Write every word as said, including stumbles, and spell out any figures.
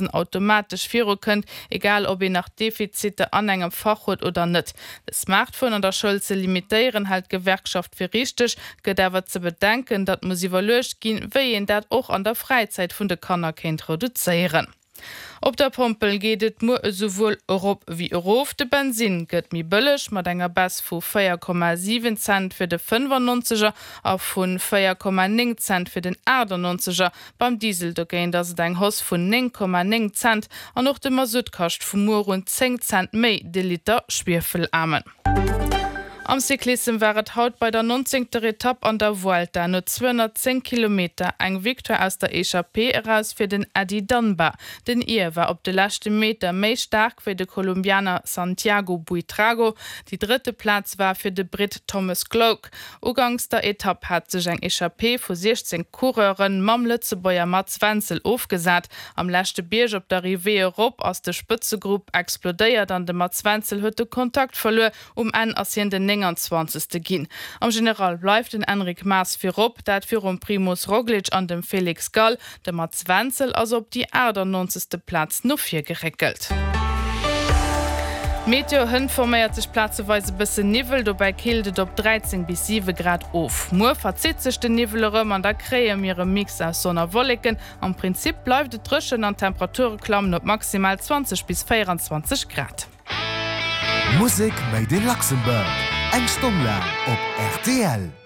automatesch virukënnt, egal ob een nach Defiziter an engem Fach huet oder net. De Smartphone an der Schoul ze limitéieren, hält d'Gewerkschaft fir richteg, gëtt awer ze bedenken, datt muss iwwerluecht ginn, wéi een dat och an der Fräizäit vun de Kanner kéint reduzéieren. Op der Pompel geet et muer esouwuel erop wéi erof. De Bensinn gëtt méi bëlleg mat enger Baisse vu véier Komma siwen Cent fir de fënnfannonzeger a vu véier Komma néng Cent fir den achtannonzeger. Beim Diesel dogéint ass et eng Hausse vun néng Komma néng Cent an och de Masutt kascht vu muer un zéng Cent méi de Liter Schwiefelaarmen. Am Cyclissem war et haut bei der nonzéngter Etapp an der Vuelta no zweehonnertzéng Kilometer eng Victoire aus der Echappée eraus fir den Eddie Dunbar. Den Ir war op de leschte Meter méi staark wéi de Kolumbianer Santiago Buitrago. Déi drëtte Plaz war fir de Britt Thomas Gloag. Uganks der Etapp hat sech eng Echappée vu siechzéng Coureure mam Lëtzebuerger Mats Wenzel ofgesat. Am leschte Bierg op der Arrivée erop ass de Spëtzegrupp explodéiert an de Mats Wenzel huet de Kontakt verluer. Um Enn ass hien den nénganzwanzegste ginn. Am General bleift den Enric Mas virop, dat virum Primoz Roglic an dem Felix Gall. De Mats Wenzel ass op déi aachtannonzegste Plaz no vir geréckelt. Meteo, Hënt forméiert sech plazeweis e bëssen Niwwel, dobäi killt et op dräizéng bis siwe Grad of. Muer verzitt sech den Niwwel erëm an da kréie mir e Mix aus Sonn a Wolleken. Am Prinzip bleift et dréchen an d'Temperature klammen op maximal zwanzeg bis véieranzwanzeg Grad. Musek made in Luxembourg, eng Stonn laang op rtl.